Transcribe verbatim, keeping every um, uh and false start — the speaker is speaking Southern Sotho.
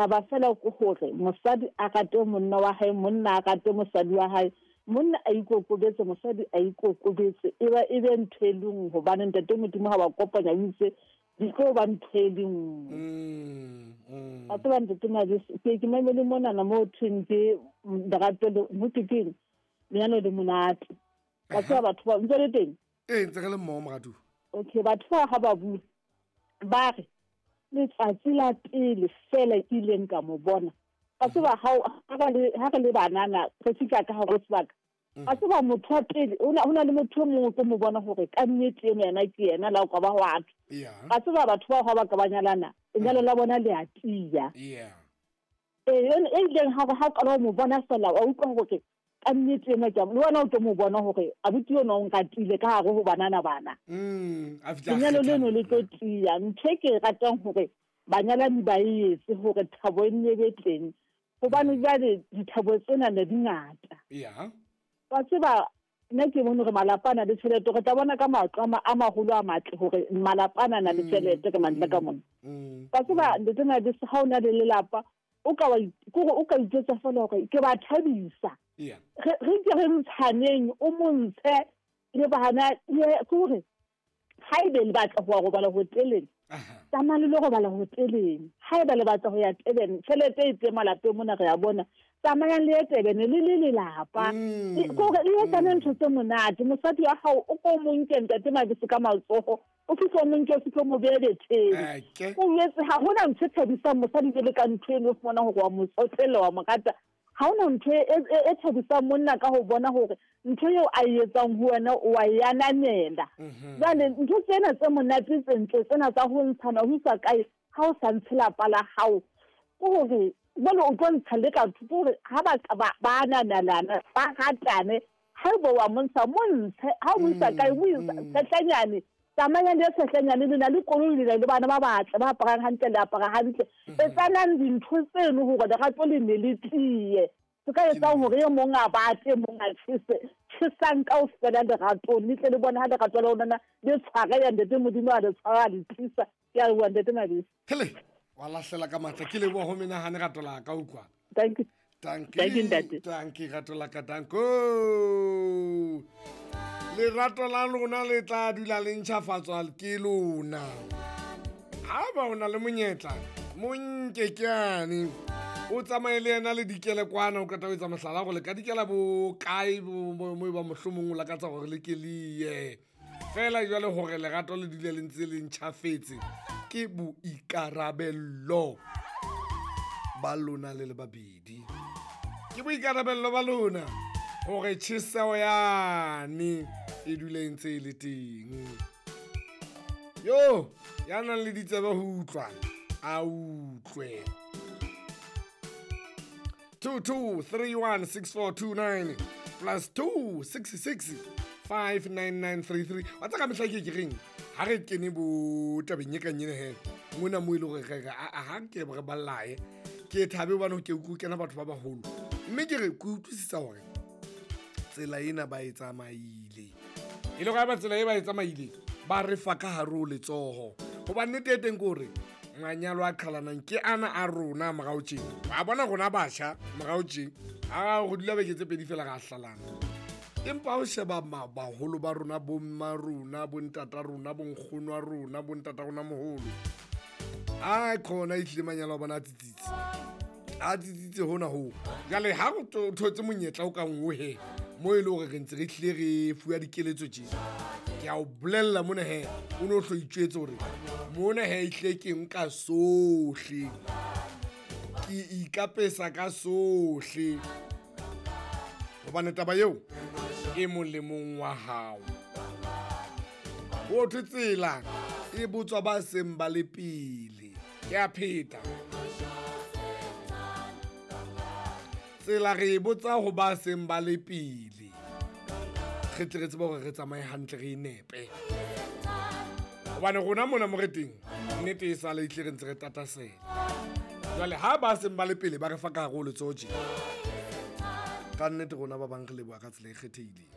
Taba fela ke hore mosadi a rate monna wa hae, monna a rate mosadi wa hae, monna a ikokobetse, mosadi a ikokobetse, e ba e be ntho e le nngwe, hobane ntate Modimo ha ba kopanya o itse di tlo ba ntho e le nngwe. Mm, mm. Wa tseba ntate Mabese, ke ke mamele monana mo ho thweng ke lerato le mo ke keng lenyalo le monate. Wa tseba batho ba ntse le teng? Ee, ntse re le mmoho moratuwa. Okay, batho ba ha ba bua ba re letsatsi la pele fela ke ileng ka mo bona. Wa tseba ha o- ha re le ha re le banana re fihla ka hare ho sebaka. Wa tseba motho wa pele ho na ho na le motho e mong o tlo mo bona hore ka nnete eno yena ke yena la o ka ba hwa thwe. Yeah. Wa tseba batho bao ha ba ka ba nyalana, lenyalo la bona le a tiya. Yeah. Ee, yone e ileng ha ha o qala ho mo bona fela wa utlwa hore ka nnete ena ke a le wena o tlo mo bona hore abuti enwa o nratile ka hare ho banana bana. Mm, a fihla a Lenyalo kgetha leno le nna. tlo tiya. Ntho e ke e ratang hore banyalani ba e etse hore thabo e nne be teng, hobane jwale dithabo tsena ne di ngata. Yeah. Wa tseba nna ke bone hore malapa a na le tjhelete, re tla bona ka matlo a ma- a maholo a matle hore malapa a na na le tjhelete ka mantle ka mona. Mm. Wa tseba ntate Mabese, ha o na le lelapa o ka wa ke hore o ka ijwetsa feela hore ke ba thabisa. Yeah. Re re ke re ntshaneng, o mo ntshe le bana, le ke hore haebe le batla ho ya robala hoteleng, Aha. tsamayang le lo robala hoteleng. Haeba le batla ho ya Durban, tjhelete e teng malapeng mona re a bona, tsamayang le ye Durban le le lelapa. Mm. Ke hore le etsane ntho tse monate. Mosadi wa hao o ko mo nke ntate Mabese ka matsoho, o fihle o mo nke, o fihle o mo behe betheng. Eke. O jwetse ha hona ntho e thabisang mosadi jwalo ka ntho eno, o fumana hore wa mo tsotella, wa mo rata. Ha hona ntho e, e, e thabisang monna ka ho bona hore ntho eo a e etsang ho wena o wa e ananela. Mhm. Jwale ntho tsena tse monate tse ntle tsena tsa ho ntshana ho isa kae, ha o sa ntshe lapa la hao, ke hore jwale o tlo ntsha le ka thoko hore ha ba ka ba, ba ananelana, ba ratane, haeba wa mo ntsha, mo ntshe. Ha o mo isa kae, mo isa Mm. Tshetlanyane. Tsamayang le Tshetlanyane, le na le koloi, le na le bana ba batle, ba aparang hantle, le apara hantle. Etsanang dintho tseno hore lerato le ne le tiye. Se ka etsang hore e mong a bate, e mong a tjhese. Tjhesang kaofela leratong, le tle le bone ha lerato la lona le tshwareha, ntate Modimo a le tshwara, a le tlisa. Ke a leboha ntate Mabese. Hele, wa lahlela ka matla. Ke leboha ho menahane rato la ka, utlwa. Thank you. Dankie. Thank you, ntate. Dankie, rato la ka, danko. Lerato la lona le tla dula le ntjhafatswa ke lona. Ha ba o na le monyetla, mo nke ke yane. O tsamaye le yena le dikele kwana, o qeta ho etsa mohlala hore le ka dikela bo kae, bo, bo, mo e ba mohlomong o lakatsa hore le ke le ye. Feela jwale hore lerato le dule le ntse le ntjhafetse, ke boikarabello ba lona le le babedi. Ke boikarabello ba lona hore tjheseho yane e dule e ntse e le teng. Yo, ya nang le ditsebe ho utlwa, a utlwe. two two three one six four two nine plus two six six five nine nine three three. Wa tseba ka mehla ke ke reng? Ha re kene bo tabeng e kang ena he, mona moo e le hore re re, a, a, ha ke re ba llae. Ke thabe hobane ke utlwe kena batho ba baholo. Mme ke re ke utlwisisa hore tsela ena ba e tsamaile. E le hore ha ba tsela e ba e tsamaile, ba re fa ka hare ho letsoho. Hobane nnete e teng ke hore manyalo a qhalanang ke ana a rona morao tjena. Wa bona rona batjha morao tjena, ha re dula beke tse pedi feela ra hlalana. Empa ha o sheba ma-, baholo ba rona, bo mma rona, bo ntata rona, bo nkgono wa rona, bo ntata rona moholo, a khona ehlile manyalo a bona a tsitsitse. A tsitsitse hona hoo. Jwale ha o to-, thotse monyetla o kang o he, mo e le hore re ntse re hlile re fuwa dikeletso tje. Ke a o bolella mona he, o no hlo itjwetse hore mona he ehlile ke nka sohle. Ke ikapesa ka sohle. Hobane taba eo e molemong wa hao. Ho thwe tsela e botswa ba seng ba le pele. Ke a pheta. Tsela re e botsa ho ba seng ba le pele. Re tle re tsebe hore re tsamaye hantle, re e nepe. Hobane rona mona mo re teng, nnete e sale ehlile re ntse re tatasela. Jwale ha ba seng ba le pele ba re fa ka hare ho letsoho tje. Ka nnete rona ba bang re leboha ka tsela e kgethehileng.